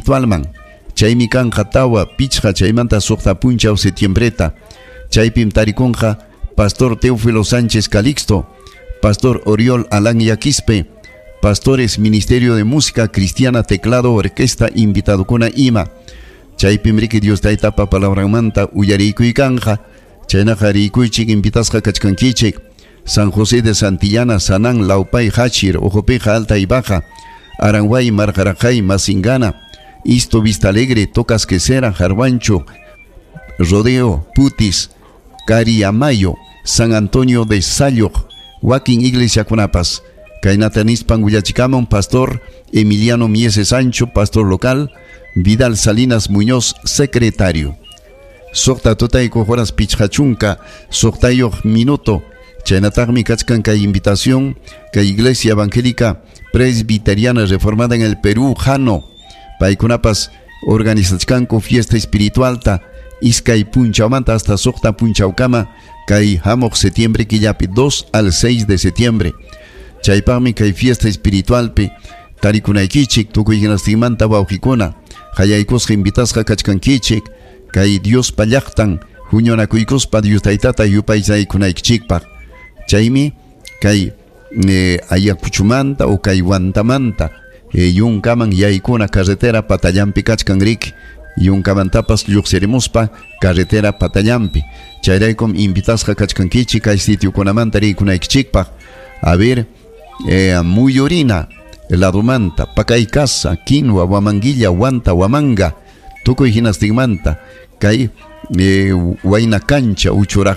espiritualman. Chaymi kanqa 4, 5 chaymanta 6 punchaw septiembreta. Chaypim tarikunqa Pastor Teófilo Sánchez Calixto, Pastor Oriol Alán Yaquispe, Pastores Ministerio de Música Cristiana, Teclado, Orquesta, invitadokuna ima. Chaypim riki Dios taytapa palabranmanta uyariykuy kanja, chaynaqa riykuychik invitasqa kachkankichik. San José de Santillana, Sanán, Laupay, Hachir, Ojopeja, Alta y Baja, Aranguay, Marjarajay, Masingana, Isto, Vista Alegre, Tocas Quesera, Jarwancho, Rodeo, Putis, Cariamayo, San Antonio de Sayoc, Wakin Iglesiakunapas. Kaynata nispan willachikamun Pastor Emiliano Miese Sancho, pastor local, Vidal Salinas Muñoz, secretario. 6 tutayku horas 50 6 minuto. Chaynataqmi kachkan kay invitación kay Iglesia Evangélica Presbiteriana Reformada en el Perú, Jano. Paykunapas organizachkanku fiesta espiritualta iskay punchawmanta hasta 6 punchawkama kay hamuq septiembre killapi 2 al 6 de septiembre. Chaypaqmi kay fiesta espiritualpi tarikunaykichik tukuy hinastinmanta wawqikuna hayaykusqa invitasqa kachkankichik kay Diospa llaqtan huñunakuykuspa Dios taytata yupaychaykunaykichikpaq. Chaymi kay Ayacuchumanta o kay Huantamanta yunkaman yaykuna carretera patallampi kachkan riki yunkamantapas lluqsirimuspa carretera patallampi. Chayraykum invitasqa kachkankichik kay sitiokunamanta riykunaykichikpaq. A ver, Muyurina ladumanta, Pakaykasa, Quinua, Huamanguilla, Huanta, Huamanga, tukuy hinastinmanta kay Huayna Cancha, Uchuraja